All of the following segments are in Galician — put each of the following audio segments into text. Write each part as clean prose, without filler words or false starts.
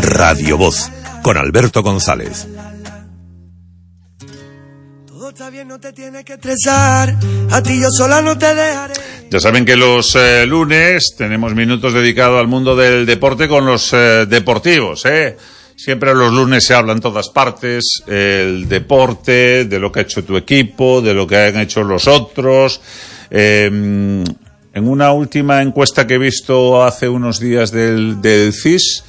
Radio Voz, con Alberto González. Todo está bien, no te tienes que estresar, a ti yo sola no te dejaré. Ya saben que los lunes tenemos minutos dedicados al mundo del deporte con los deportivos, Siempre los lunes se habla en todas partes, el deporte, de lo que ha hecho tu equipo, de lo que han hecho los otros. En una última encuesta que he visto hace unos días del CIS,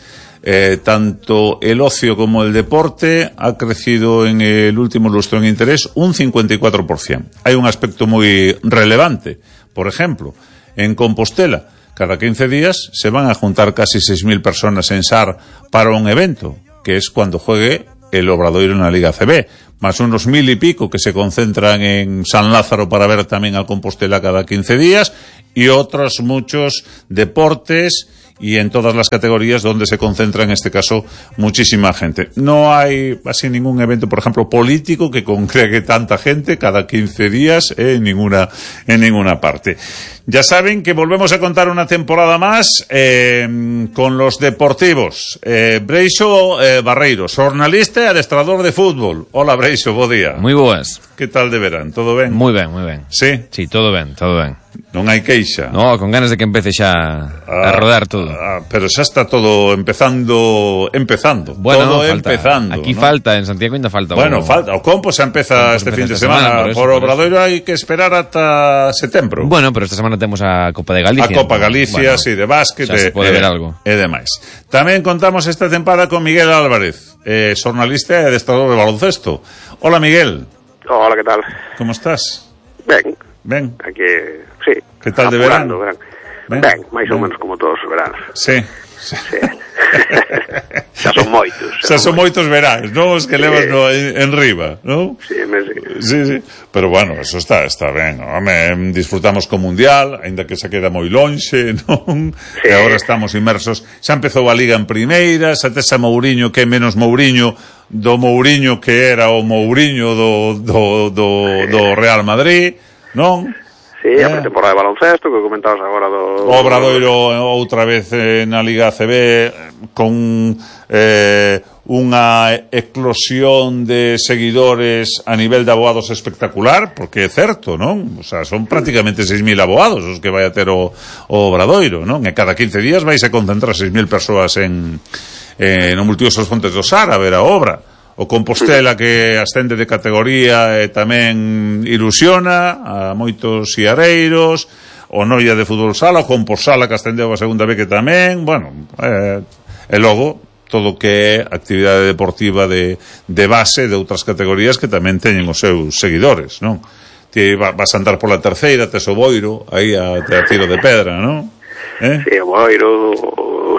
tanto el ocio como el deporte ha crecido en el último lustro en interés un 54%. Hay un aspecto muy relevante. Por ejemplo, en Compostela, cada 15 días se van a juntar casi 6.000 personas en SAR para un evento, que es cuando juegue el Obradoiro en la Liga ACB, más unos 1.000 y pico que se concentran en San Lázaro para ver también al Compostela cada 15 días, y otros muchos deportes y en todas las categorías donde se concentra en este caso muchísima gente. No hay así ningún evento, por ejemplo, político que congregue tanta gente cada 15 días en ninguna parte. Ya saben que volvemos a contar una temporada más con los deportivos. Breixo Barreiro, xornalista e adestrador de fútbol. Hola, Breixo, bo día. Moi boas. Que tal de verán? Todo ben? Moi ben, moi ben. Sí? Sí, todo ben, todo ben. Non hai queixa? No, con ganas de que empece xa a rodar todo. Pero xa está todo empezando. Bueno, todo falta, empezando. Aquí, ¿no? Falta, en Santiago ainda falta. Bueno, falta. O Compo xa empeza este fin de semana. Por Obradoiro hai que esperar ata setembro. Bueno, pero esta semana temos a Copa de Galicia. A Copa Galicia, bueno, sí, de básquet. Xa se pode ver algo. E demais. Tamén contamos esta tempada con Miguel Álvarez, xornalista e adestrador de baloncesto. Hola, Miguel. Hola, ¿qué tal? ¿Cómo estás? Ben. Aquí, sí. ¿Qué tal de verano? Ben, máis ou menos como todos os veranos. Sí. Xa son moitos. Xa son moitos veráns, non? Os que levas en riba, non? Sí. Pero bueno, eso está ben. Home, disfrutamos co Mundial, aínda que se queda moi lonxe, non? Sí. E agora estamos inmersos. Xa empezou a Liga en primeira, xa tes a Mouriño, que é menos Mouriño do Mouriño que era o Mouriño do Real Madrid, non? Sí, a pretemporada de baloncesto que comentabas agora do Obradoiro outra vez na Liga ACB con unha eclosión de seguidores a nivel de abogados espectacular, porque é certo, non? O sea, son prácticamente 6.000 abogados os que vai a ter o Obradoiro, non? E cada 15 días vais a concentrar 6.000 persoas no multiusos Fontes do Sar a ver a obra. O Compostela que ascende de categoría e tamén ilusiona a moitos siareiros, o Noia de fútbol sala, o Compostela que ascendeu a segunda vez que tamén, bueno, e logo todo que é actividade deportiva de base de outras categorías que tamén teñen os seus seguidores, non? Ti vas a andar pola terceira, tes o Boiro aí a tiro de pedra, non? Sí, o Boiro,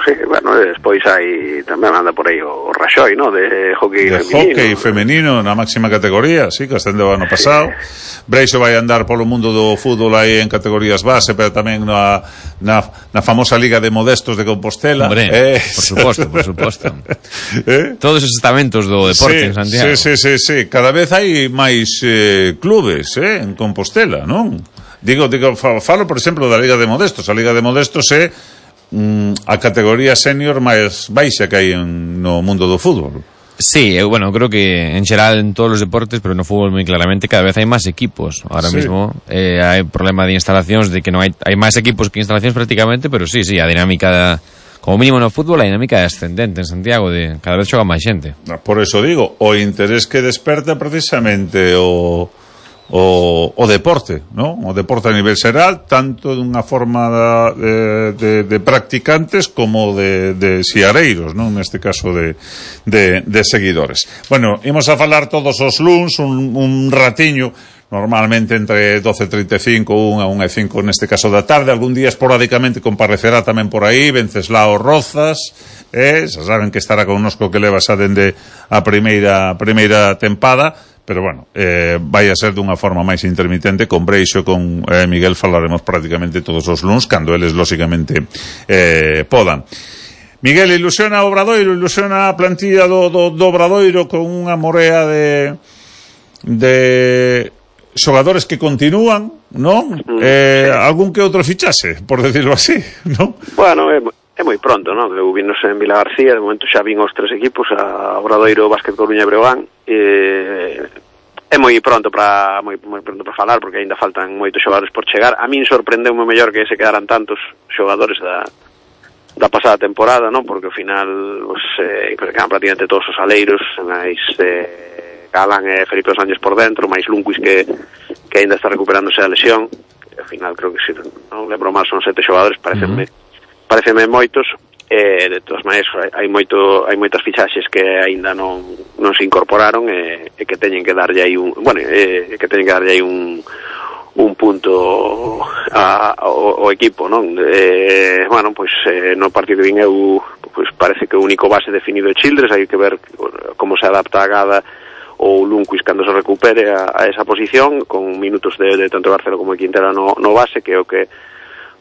sí, bueno, despois hai tamén anda por aí o Raxoi, ¿no? De hockey femenino na máxima categoría, sí, que ascendeu ano pasado. Breixo vai andar polo mundo do fútbol aí en categorías base, pero tamén na famosa Liga de Modestos de Compostela. Hombre, por suposto. Todos os estamentos do deporte en Santiago. Sí. Cada vez hai máis clubes, en Compostela, non? Digo, falo, por exemplo, da Liga de Modestos. A Liga de Modestos é a categoría senior máis baixa que hai no mundo do fútbol. Sí, bueno, creo que en xeral en todos os deportes, pero no fútbol moi claramente, cada vez hai máis equipos. Ahora mismo hai problema de instalacións, de que non hai máis equipos que instalacións prácticamente, pero sí, a dinámica como mínimo no fútbol, a dinámica é ascendente en Santiago, de cada vez xoga máis xente. Por eso digo, o interés que desperta precisamente o deporte, ¿no? O deporte a nivel xeral, tanto dunha forma de practicantes como de siareiros, ¿no? Neste caso de seguidores. Bueno, imos a falar todos os luns un ratiño, normalmente entre 12:35 a 1:05 neste caso da tarde. Algún día esporádicamente comparecerá tamén por aí Venceslao Rozas, xa saben que estará connosco, que leva xa dende a primeira tempada. Pero bueno, vai a ser dunha forma máis intermitente. Con Breixo, con Miguel falaremos prácticamente todos os luns, cando eles lógicamente podan. Miguel, ilusiona o Obradoiro, ilusiona a plantilla do Obradoiro con unha morea de xogadores que continúan, non? Algún que outro fichase, por decirlo así, non? Bueno, é moi pronto, non? Eu vinos en Vila García, de momento xa vin os 3 equipos, a Obradoiro, Básquet Coruña e Breogán. É moi pronto para falar, porque aínda faltan moitos xogadores por chegar. A min sorprendeu moi mellor que se quedaran tantos xogadores da pasada temporada, non? Porque ao final quedan prácticamente todos os aleiros, máis Galán e Felipe Sánchez por dentro, máis Lunquis que aínda está recuperándose da lesión. Ao final creo que se non lembro mal son 7 xogadores, pareceme moitos. De todas maneiras hai moitas fichaxes que aínda non se incorporaron e que teñen que darlle aí un punto ao equipo, non? No partido que vin eu, parece que o único base definido é Childress, hai que ver como se adapta a Gada ou Lunquis cando se recupere a esa posición, con minutos de tanto Barceló como Quintela no base, que é o que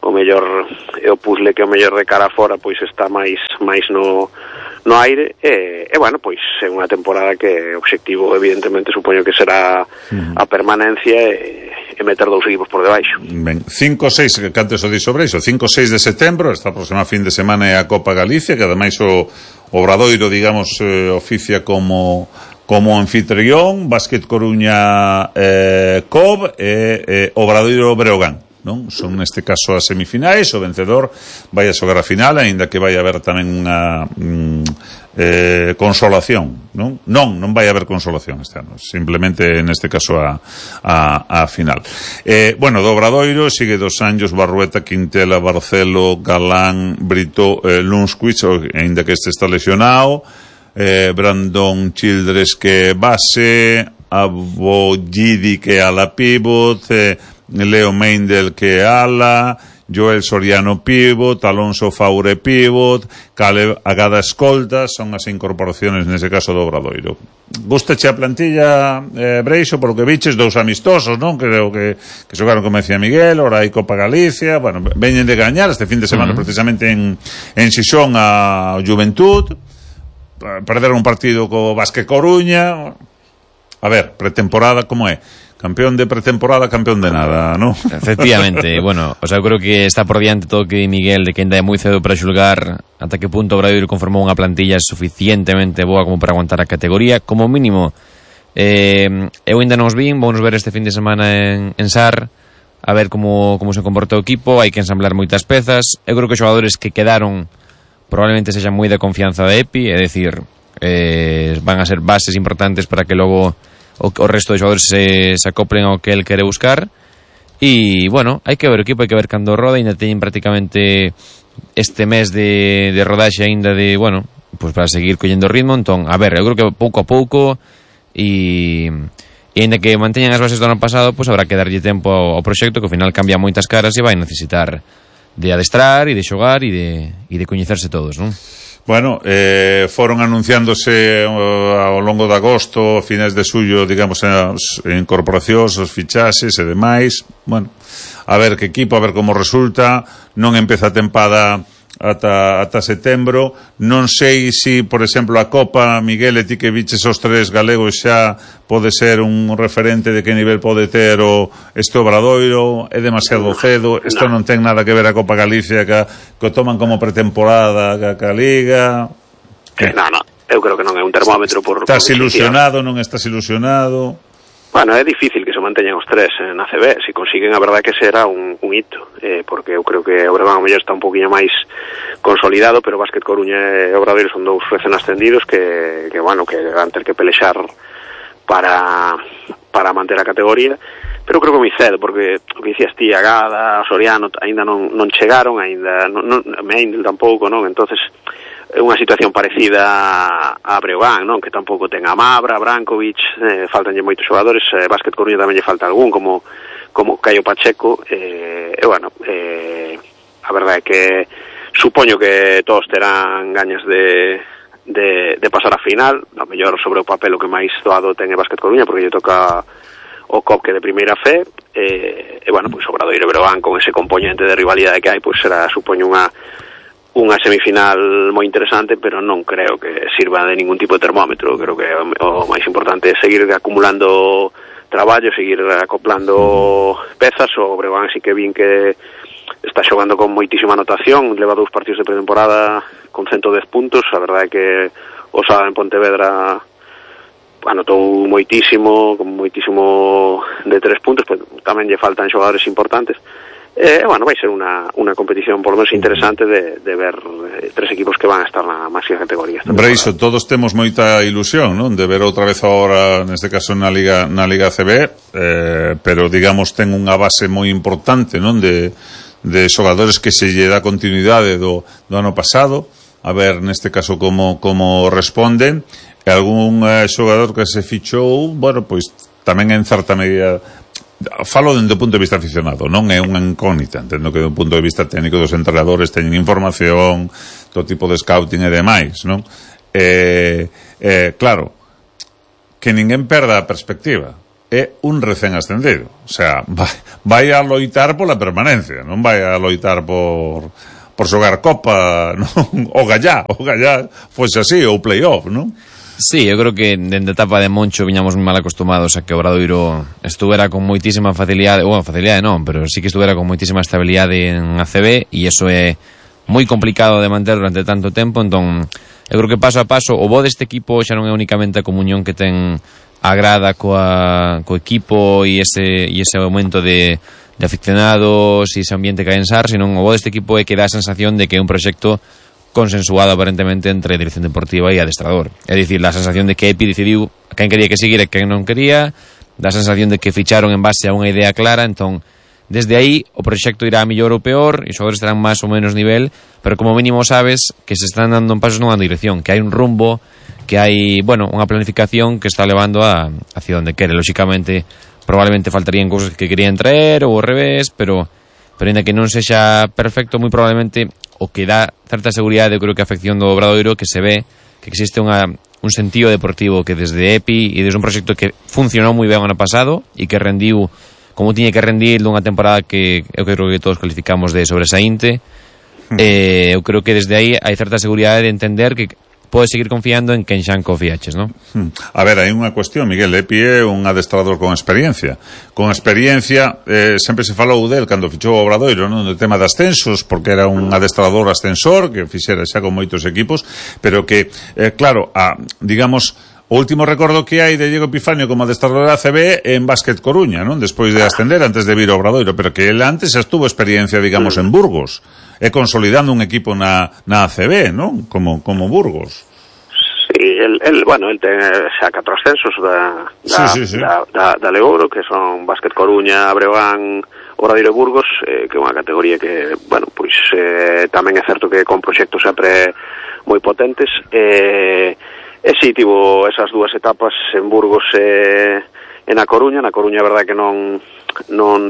o mellor é o puzzle que o mellor de cara fora pois está máis no aire e pois é unha temporada que o obxectivo evidentemente supoño que será a permanencia e meter 2 equipos por debaixo. Ben, 5-6, que antes o di sobre iso, 5-6 de setembro, esta próxima fin de semana é a Copa Galicia, que ademais o Obradoiro, digamos, oficia como anfitrión, Básquet Coruña COB e Obradoiro Breogán, non? Son neste caso as semifinais, o vencedor vai a xogar a final, aínda que vai haber tamén unha consolación, non? Non vai haber consolación este ano, simplemente neste caso a final. Do Obradoiro sigue Dos Anjos, Barrueta, Quintela, Barcelo, Galán, Brito, Lunquis, aínda que este está lesionado, Brandon Childress que base, Abollidi que ala pivot, Leo Meindel que ala, Joel Soriano pivot, Alonso Faure pivot, Caleb Agada escolta, son as incorporaciones nese caso do Obradoiro. Gustache a plantilla, Breixo, polo que viches, 2 amistosos, non? Creo que xogaron, como decía Miguel, ora hai Copa Galicia, veñen de gañar este fin de semana precisamente en Xixón a Juventud, perderon un partido co Básquet Coruña. A ver, pretemporada como é? Campeón de pretemporada, campeón de nada, ¿no? Efectivamente, bueno, o sea, eu creo que está por diante todo o que di Miguel, de que ainda é moi cedo para xulgar ata que punto o Obradoiro conformou unha plantilla suficientemente boa como para aguantar a categoría. Como mínimo, eu ainda non os vin, vamos ver este fin de semana en SAR, a ver como se comporta o equipo, hai que ensamblar moitas pezas. Eu creo que os xogadores que quedaron probablemente sexan moi de confianza de Epi, é dicir, van a ser bases importantes para que logo o resto de xogadores se acoplen ao que el quere buscar. E, bueno, hai que ver o equipo, hai que ver cando roda, ainda teñen prácticamente este mes de rodaxe ainda de, bueno, pues para seguir collendo ritmo. Entón, a ver, eu creo que pouco a pouco e ainda que manteñan as bases do ano pasado, pues habrá que darlle tempo ao proxecto, que ao final cambia moitas caras e vai necesitar de adestrar e de xogar e de coñecerse todos, non? Bueno, foron anunciándose ao longo de agosto, finais de xullo, digamos, as incorporacións, os fichaxes e demais. Bueno, a ver que equipo, a ver como resulta. Non empeza a tempada ata setembro. Non sei se, por exemplo, a Copa, Miguel, e ti que viches os 3 galegos xa pode ser un referente de que nivel pode ter este Obradoiro. É demasiado cedo, isto non ten nada que ver a Copa Galicia, que o toman como pretemporada, que a Liga. Non, eu creo que non é un termómetro por... Estás ilusionado, non estás ilusionado? Bueno, é difícil que se manteñan os 3 na CB. Se consiguen, a verdade que será un hito, porque eu creo que o Breogán mellor está un poquinho máis consolidado, pero Básquet Coruña e Obradoiro son 2 recén ascendidos que van ter que pelexar para manter a categoría. Pero creo que moi cedo, porque o que dicías ti, Agada, Soriano aínda non chegaron, aínda Meindel tampouco, non? Entonces é unha situación parecida a Breogán, non? Que tampouco ten a Mabra, Brankovic, faltanlle moitos xogadores, Básquet Coruña tamén lle falta algún, como Caio Pacheco, a verdade é que supoño que todos terán gañas de pasar a final, a mellor sobre o papel o que máis doado ten é Básquet Coruña, porque lle toca o COP que de primeira fe, pois Obradoiro e Breogán con ese componente de rivalidade que hai, pois será, supoño, unha semifinal moi interesante, pero non creo que sirva de ningún tipo de termómetro. Creo que o máis importante é seguir acumulando traballo, seguir acoplando pezas. O Breogán sí que vin que está xogando con moitísima anotación, leva 2 partidos de pretemporada con 110 puntos, a verdade é que o sábado en Pontevedra anotou moitísimo, con moitísimo de 3 puntos, pues tamén lle faltan xogadores importantes. Vai ser unha competición por lo menos interesante de ver 3 equipos que van a estar na máxima categoría. Breixo, todos temos moita ilusión, non? De ver outra vez agora, neste caso na Liga ACB, pero digamos ten unha base moi importante, non? De xogadores que se lle dá continuidade do ano pasado, a ver neste caso como responden, e algún xogador que se fichou, bueno, pois tamén en certa medida. Falo dende o punto de vista aficionado, non é unha incógnita, entendo que do punto de vista técnico dos entrenadores teñen información, todo tipo de scouting e demais, non? Claro, que ninguén perda a perspectiva, é un recén ascendido, o sea, vai a loitar pola permanencia, non vai a loitar por xogar Copa, non? O Gallá fose así, ou playoff, non? Sí, eu creo que dende a etapa de Moncho viñamos moi mal acostumados a que o Obradoiro estuvera con moitísima facilidade, facilidade non, pero sí que estuvera con moitísima estabilidade en ACB, e iso é moi complicado de manter durante tanto tempo. Entón, eu creo que paso a paso o bo deste equipo xa non é únicamente a comunión que ten a grada co equipo e ese aumento de aficionados e ese ambiente que hai en SAR, senón o bo deste equipo é que dá a sensación de que é un proxecto consensuado aparentemente entre a dirección deportiva e adestrador. É dicir, a sensación de que Epi decidiu quen quería que seguir e quen non quería, dá a sensación de que ficharon en base a unha idea clara. Entón, desde aí o proxecto irá a mellor ou peor e os xogadores estarán máis ou menos nivel, pero como mínimo sabes que se están dando pasos nunha dirección, que hai un rumbo, que hai, unha planificación que está levando hacia onde quere. Lóxicamente, probablemente faltarían cousas que querían traer ou ao revés, pero ainda que non sexa perfecto, moi probablemente o que dá certa seguridade, eu creo que a afección do Obradoiro, que se ve que existe un sentido deportivo que desde EPI e desde un proxecto que funcionou moi ben o ano pasado e que rendiu como tiña que rendir dunha temporada que eu creo que todos calificamos de sobresaínte. Eu creo que desde aí hai certa seguridade de entender que podes seguir confiando en quen xa confiaches, non? A ver, hai unha cuestión, Miguel. Epi é un adestrador con experiencia. Con experiencia, sempre se falou del cando fichou o Obradoiro, non? No tema de ascensos, porque era un adestrador ascensor que fixera xa con moitos equipos, pero que, claro, digamos, o último recordo que hai de Diego Epifanio como adestrador da ACB en Básquet Coruña, non? Despois de ascender, antes de vir ao Obradoiro, pero que ele antes xa estuvo experiencia, digamos, en Burgos, e consolidando un equipo na ACB, non? Como Burgos. Sí, el ten xa 4 ascensos da Leouro, que son Básquet Coruña, Breogán, Obradoiro e Burgos, que é unha categoría que, tamén é certo que con proxectos sempre moi potentes, e si tivo esas 2 etapas en Burgos e na Coruña. Na Coruña é verdade que non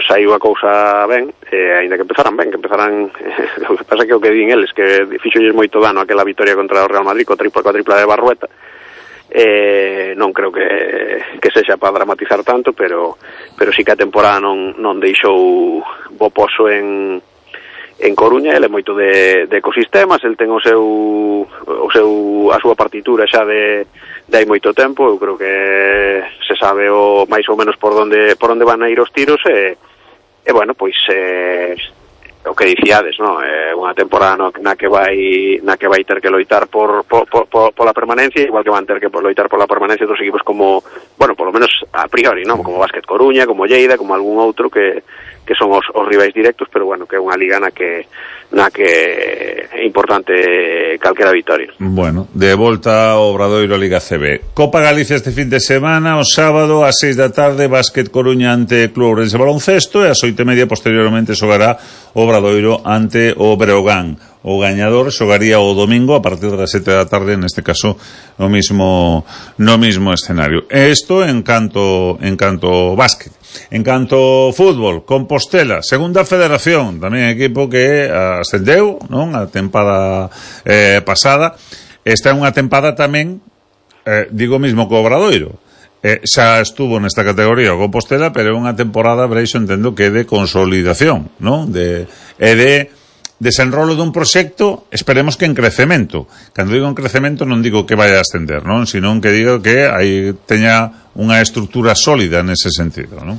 saiu a cousa ben, aínda que empezaran ben, o que pasa que o que din eles, que fixolles moito dano aquela vitoria contra o Real Madrid, coa tripla de Barrueta. Non creo que sexa para dramatizar tanto, pero sí que a temporada non deixou bo poso en Coruña. Ele é moito de ecosistemas, el ten a súa partitura xa de hai moito tempo. Eu creo que se sabe máis ou menos por onde van a ir os tiros, o que dicíades, non? Unha temporada na que vai ter que loitar pola permanencia, igual que van ter que loitar pola permanencia dos equipos como, polo menos a priori, non? Como Básquet Coruña, como Lleida, como algún outro que son os rivais directos, pero que é unha liga na que é importante calquera vitoria. Bueno, de volta ao Obradoiro Liga CB. Copa Galicia este fin de semana, o sábado ás 6 da tarde, Básquet Coruña ante Club Ourense Baloncesto, e ás 8:30 posteriormente xogará o Obradoiro ante o Breogán. O gañador xogaría o domingo a partir das 7 da tarde, neste caso no mismo escenario. Isto en canto básquet. En canto fútbol, Compostela, segunda federación, tamén equipo que ascendeu, non? A tempada pasada. Esta é unha tempada tamén, digo mesmo co Obradoiro. Xa estuvo nesta categoría o Compostela, pero é unha temporada, Breixo, entendo que é de consolidación, non? De desenrolo dun proxecto, esperemos que en crecemento. Cando digo en crecemento non digo que vai a ascender, non? Senón que digo que aí teña unha estrutura sólida nese sentido, non?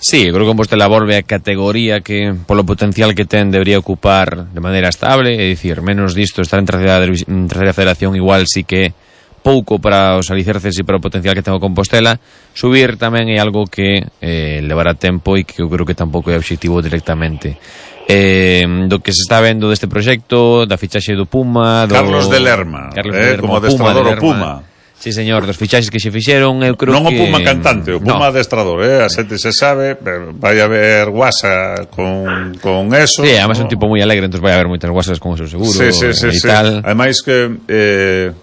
Sí, creo que Compostela volve a categoría que polo potencial que ten debería ocupar de maneira estable, é dicir, menos disto estar en terceira federación igual sí que pouco para os alicerces e para o potencial que ten o Compostela. Subir tamén é algo que levará tempo e que eu creo que tampouco é objetivo directamente. Do que se está vendo deste proxecto, da fichaxe do Puma, Carlos de Lerma, como adestrador o Puma. Sí, señor, dos fichaxes que se fixeron, eu creo non que... Non o Puma cantante, o Puma adestrador, a xente se sabe, vai haber guasa con eso. Sí, además é un tipo moi alegre, entón vai haber moitas guasas con o seu seguro e tal. Ademais que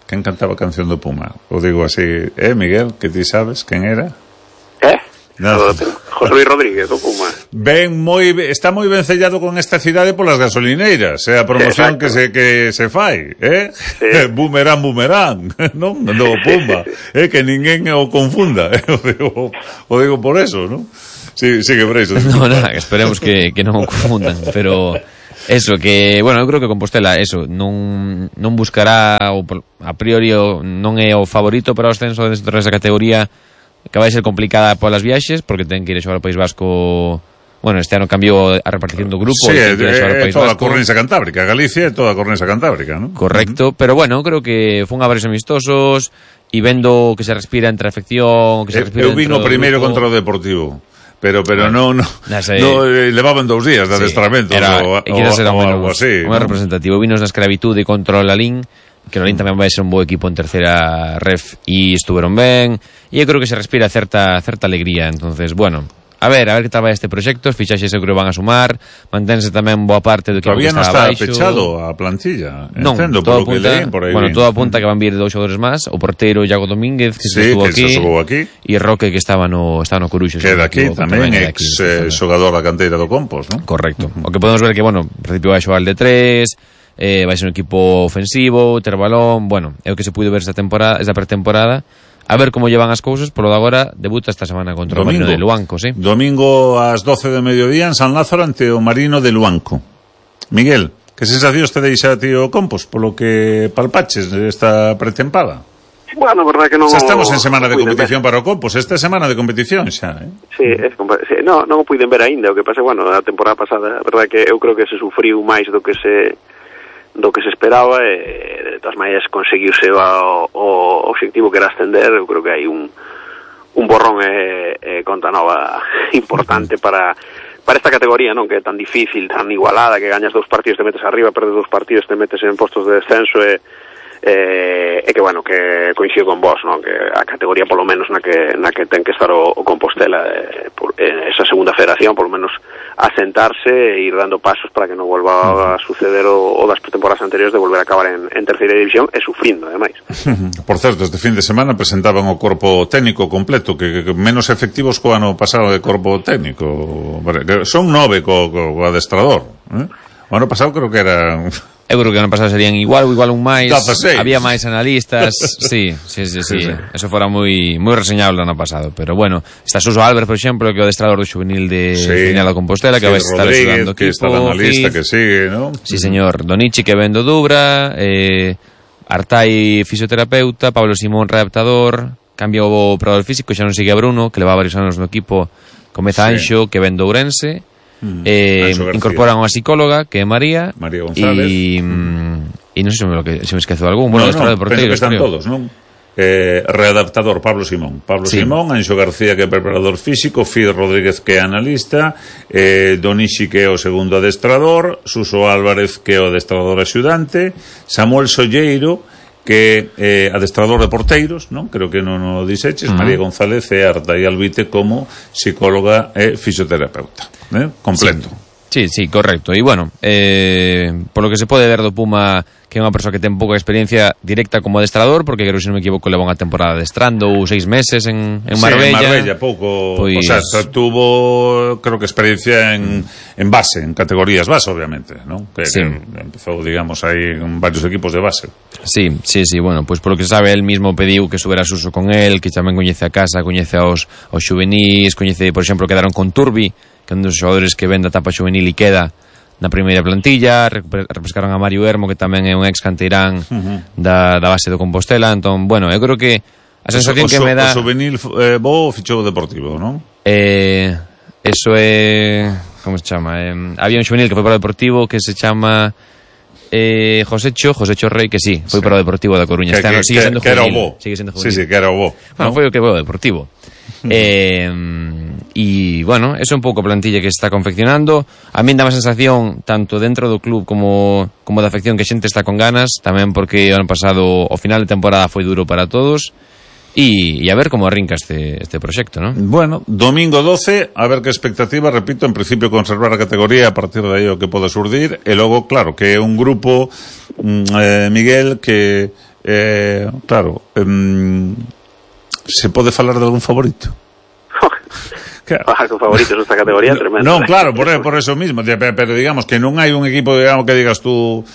quen cantaba a canción do Puma? O digo así, Miguel, que ti sabes quen era? José Luis Rodríguez, o Puma. Está moi ben sellado con esta cidade polas gasolineiras, a promoción que se fai, Sí. Boomerang, non? No Puma, que ninguén o confunda, o digo por eso, non? Sí, que por eso. No, nada, esperemos que non o confundan, pero eso, que, bueno, eu creo que Compostela, eso, non buscará, a priori, non é o favorito para o ascenso dentro desa categoría, que vai ser complicada polas viaxes, porque ten que ir a xogar ao País Vasco. Bueno, este ano cambiou a repartición do grupo. Sí, é toda a Cornisa Cantábrica, Galicia é toda a Cornisa Cantábrica, ¿no? Correcto, pero bueno, creo que fun a varios amistosos e vendo que se respira entre a afección, que se respira eu vino primeiro contra o Deportivo. Pero bueno, no levaban 2 días de adestramento ou algo así. Moi representativo. Vinos na escravitude contra o Lalín, que o Lalín tamén vai ser un bo equipo en terceira ref e estuveron ben, e eu creo que se respira certa alegría. Entonces, bueno, a ver que tal vai este proxecto. Os fichaxes eu creo van a sumar, manténse tamén boa parte do que todavía non está abaixo. Pechado a plantilla, non, todo apunta, todo apunta que van vir 2 xogadores máis, o porteiro Iago Domínguez que estuvo aquí e Roque que estaba no Coruxo, que era aquí tamén, ex xogador da canteira do Compos, non? Correcto. O que podemos ver que, bueno, en principio vai xogar el de 3, vai ser un equipo ofensivo, ter balón, bueno, é o que se puido ver esta pretemporada. A ver como llevan as cousas, polo de agora debuta esta semana contra o Marino de Luanco, sí. Domingo ás 12 do mediodía en San Lázaro ante o Marino de Luanco. Miguel, que sensacións te deixa a ti o Compos polo que palpaches esta pretempada? Bueno, verdad que non... Xa estamos en semana de competición para o Compos, esta é semana de competición xa, Sí, non o puiden ver aínda, o que pasa, bueno, a temporada pasada, verdad que eu creo que se sufriu máis do que se esperaba, e de todas maneiras conseguiuse o objetivo que era ascender. Eu creo que hai un borrón e conta nova importante para esta categoría, non, que é tan difícil, tan igualada, que gañas 2 partidos te metes arriba, perdes 2 partidos te metes en postos de descenso, e que, bueno, que coincido con vos, non, que a categoría polo menos na que ten que estar o Compostela, esa segunda federación, polo menos asentarse e ir dando pasos para que non volva a suceder o das temporadas anteriores de volver a acabar en terceira división e sufrindo, ademais. Por certo, este fin de semana presentaban o corpo técnico completo, que menos efectivos co ano pasado de corpo técnico. Son 9 co adestrador, O ano pasado creo que era... Eu creo que ano pasado serían igual un máis. Había máis analistas. Sí. Eso fora moi reseñable ano pasado. Pero bueno, está Suso Álvarez, por exemplo, que é o adestrador do juvenil de Viña da Compostela, que vai estar axudando o equipo. Que está na lista, que sigue, ¿no? Sí, señor. Donichi, que vendo Dubra, Artai, fisioterapeuta, Pablo Simón, readaptador, cambia o operador físico, xa non sigue a Bruno, que leva varios anos no equipo, comeza Anxo, que vende Ourense. Incorporan unha psicóloga que é María González e non sei se me esquezo algún. Bueno, penso que están todos, non? Readaptador Pablo Simón, Anxo García, que é preparador físico, Fid Rodríguez, que é analista, Donishi, que é o segundo adestrador, Suso Álvarez, que é o adestrador axudante, Samuel Solleiro, que é adestrador de porteiros, non? Creo que non o dixeches, María González e Artai Albite como psicóloga e fisioterapeuta, completo. Sí, correcto. E bueno, por lo que se pode ver do Puma, que é unha persoa que ten pouca experiencia directa como adestrador, porque creo que, se non me equivoco, leva unha temporada adestrando 6 meses en Marbella. Sí, en Marbella, pouco, o sea, tuvo, creo que experiencia en base, en categorías base, obviamente, ¿no? Que empezou, digamos, aí en varios equipos de base. Sí, bueno, pues por lo que sabe, él mismo pediu que subera Suso con él, que tamén coñece a casa, coñece aos xuvenis, coñece, por exemplo, quedaron con Turbi, que é un dos xogadores que vende a etapa xuvenil e queda na primeira plantilla. Repescaron a Mario Hermo, que tamén é un ex canteirán da base do Compostela. Entón, bueno, eu creo que a sensación que me dá... O xuvenil bo fichou o Deportivo, non? Eso é... Como se chama? Había un xuvenil que foi para o Deportivo que se chama... Josecho Rey, que sí, foi para o Deportivo da Coruña. Sigue sendo juvenil. Sí, que era o bo. Bueno, foi o que foi o Deportivo. E bueno, eso é un pouco a plantilla que se está confeccionando. A min dá má sensación, tanto dentro do club como da afección, que a xente está con ganas, tamén porque o ano pasado o final de temporada foi duro para todos. E a ver como arrinca este proxecto, ¿no? Bueno, domingo 12, a ver que expectativa, repito, en principio conservar a categoría, a partir de aí o que pode surdir, e logo, claro, que é un grupo, Miguel, que, claro, se pode falar de algún favorito? Con favoritos nesta categoría tremendo. Non, claro, por eso mismo, pero digamos que non hai un equipo, digamos, que digas tú,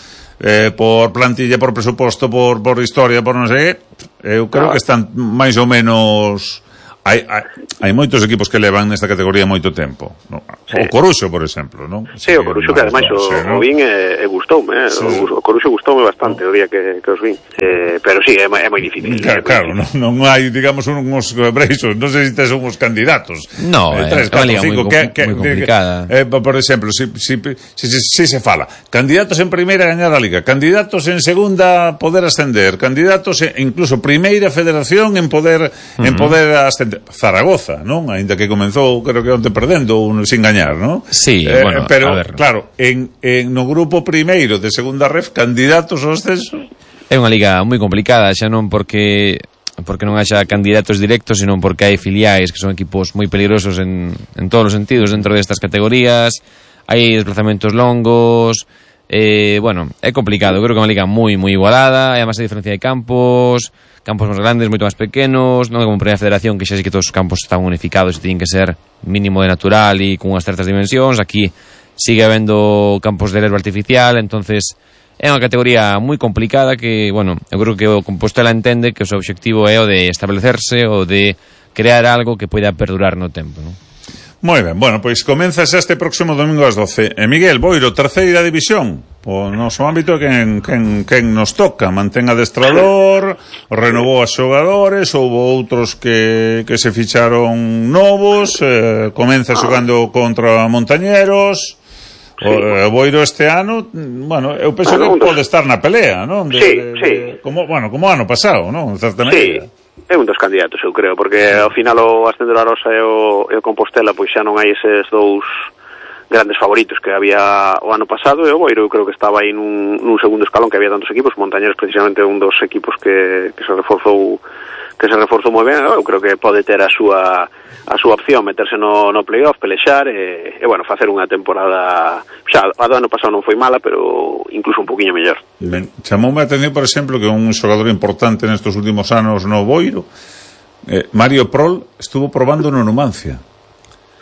por plantilla, por presuposto, por historia, por non sei, eu creo que están máis ou menos... Hai moitos equipos que levan nesta categoría moito tempo, no? Sí. O Coruxo, por exemplo, non? Sí, o Coruxo, que ademais o vin e gustoume, sí. O Coruxo gustoume bastante o día que os vin, pero sí, é moi difícil. Claro, non hai, digamos, uns breixos, non sei se tes unhos candidatos. No, é unha liga moi complicada. Por exemplo, si se fala, candidatos en primeira a gañar a liga, candidatos en segunda poder ascender, candidatos incluso primeira federación en poder ascender. Zaragoza, non? Ainda que comenzou, creo que onte perdendo sin gañar, non? Sí, bueno, pero claro, no grupo primeiro de segunda ref, candidatos ao ascenso. É unha liga moi complicada, xa non porque non haxa candidatos directos, sino porque hai filiais que son equipos moi peligrosos en todos os sentidos dentro destas categorías, hai desplazamentos longos, bueno, é complicado. Creo que é unha liga moi igualada, hai a máis diferencia de campos máis grandes, moito máis pequenos, non é como Primeira Federación, que xa sei que todos os campos están unificados e teñen que ser mínimo de natural e con unhas certas dimensións. Aquí sigue habendo campos de herba artificial, entonces é unha categoría moi complicada que, bueno, eu creo que o Compostela entende que o seu obxectivo é o de establecerse, o de crear algo que poida perdurar no tempo, non? Moi ben, bueno, pois comenzas este próximo domingo ás 12. Miguel Boiro, terceira división, o noso ámbito quen nos toca, mantén adestrador, renovou a xogadores, houve outros que se ficharon novos, comeza xogando contra Montañeros. O Boiro este ano, bueno, eu penso que pode estar na pelea, non? Sí. Como ano pasado, non? Certamente. Sí. É un dos candidatos, eu creo, porque ao final o Ascendo da Rosa e o Compostela pois xa non hai eses dous grandes favoritos que había o ano pasado, e o Boiro eu creo que estaba aí nun segundo escalón, que había tantos equipos. Montañeros precisamente un dos equipos que se reforzou moi ben. Eu creo que pode ter a súa opción, meterse no playoff, pelexar e bueno, facer unha temporada xa, a do ano pasado non foi mala, pero incluso un poquinho mellor. Ben, chamoume a atención, por exemplo, que un xogador importante nestes últimos anos no Boiro, Mario Prol, estuvo probando no Numancia.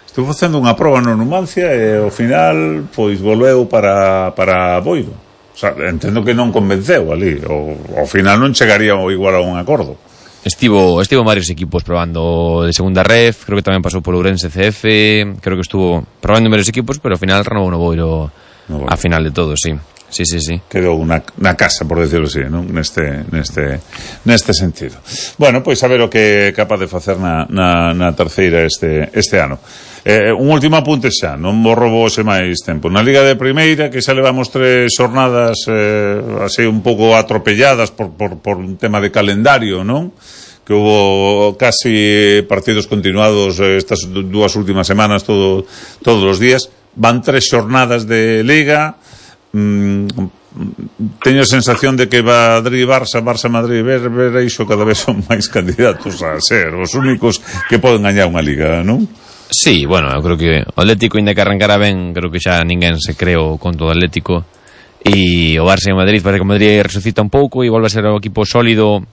Estuvo facendo unha proba no Numancia e ao final pois volveu para Boiro. O sea, entendo que non convenceu ali, ao final non chegaría igual a un acordo. Estivo varios equipos probando de segunda ref, creo que tamén pasou por Ourense CF, creo que estuvo probando en varios equipos, pero ao final renovou no Boiro a final de todo, sí. Sí. Quedou na casa, por decirlo así, non? Neste sentido. Bueno, pois a ver o que é capaz de facer na terceira este ano. Un último apunte xa, non vos robo ese máis tempo. Na Liga de Primeira, que xa levamos 3 xornadas así un pouco atropelladas por un tema de calendario, non? Que hubo casi partidos continuados estas 2 últimas semanas todos os días. Van 3 xornadas de Liga. Teño a sensación de que Barça-Madrid ver iso cada vez son máis candidatos a ser os únicos que poden gañar unha Liga, non? Sí, bueno, eu creo que o Atlético, ainda que arrancara ben, creo que xa ninguén se creo con todo o Atlético, e o Barça e o Madrid parece que o Madrid resucita un pouco e volve a ser o equipo sólido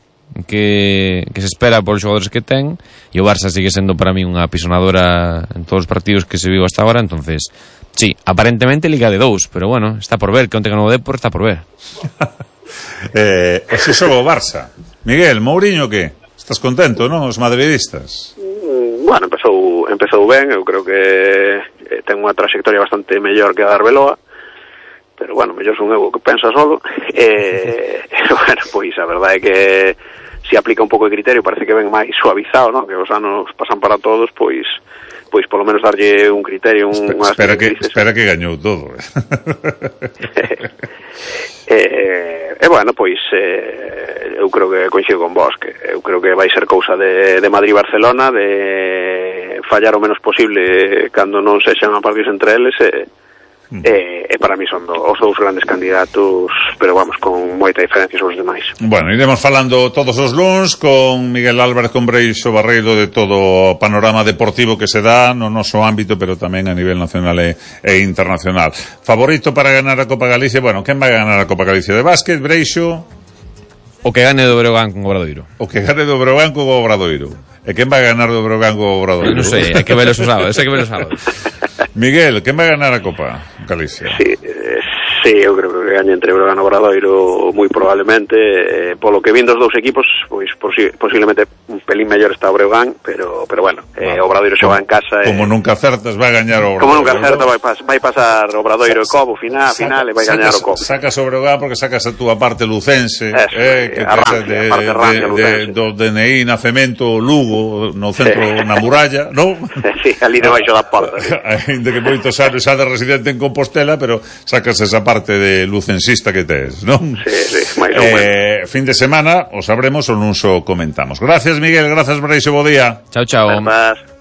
que se espera polos xogadores que ten, e o Barça sigue sendo para mí unha apisonadora en todos os partidos que se viu hasta agora. Entonces sí, aparentemente Liga de 2, pero bueno, está por ver, que onte ganou o Depor, está por ver. Ese xogo o Barça. Miguel, Mourinho, que? Estás contento, non? Os madridistas. Bueno, empezou ben, eu creo que ten unha trayectoria bastante mellor que a de Arbeloa, pero bueno, mellor son eu que pensa solo. Bueno, pois a verdade é que se aplica un pouco de criterio, parece que ven máis suavizado, non? Que os anos pasan para todos, pois pois polo menos darlle un criterio, espera que gañou todo. Bueno, pois eu creo que coincido con vos, que eu creo que vai ser cousa de Madrid-Barcelona, de fallar o menos posible cando non sexan partidos entre eles, e para mí son os dous grandes candidatos, pero vamos, con moita diferencia sobre os demais. Bueno, iremos falando todos os luns con Miguel Álvarez, con Breixo Barreiro, de todo o panorama deportivo que se dá no noso ámbito, pero tamén a nivel nacional e internacional. Favorito para ganar a Copa Galicia? Bueno, quen vai ganar a Copa Galicia de básquet, Breixo? O que gane do Breogán con Obradoiro. O que gane do Breogán con Obradoiro. E quen vai ganar do Breogán con Obradoiro? Non sei, hai que ver os sábados, Miguel, quen vai ganar a Copa Galicia? Sí, eu creo que gaña entre Breogán e Obradoiro moi probablemente, polo que vin dos dous equipos, pois posiblemente un pelín mellor está o Breogán, pero bueno, Obradoiro xoga en casa. Como nunca acertas, vai gañar o Obradoiro. Como nunca acerta, vai pasar Obradoiro e Cobo final e vai gañar o Cobo. Sacas o Breogán porque sacas a túa parte lucense, que do DNI, nacemento, Lugo, no centro, na muralla, non? Sí, ali debaixo da porta. Ainda que moitos anos xa de residente en Compostela, pero sacas esa parte de lucensista que tes, non? Sí, máis ou menos. Fin de semana o sabremos ou non o comentamos. Gracias, Miguel, gracias, Breixo, bo día. Chao. Gracias.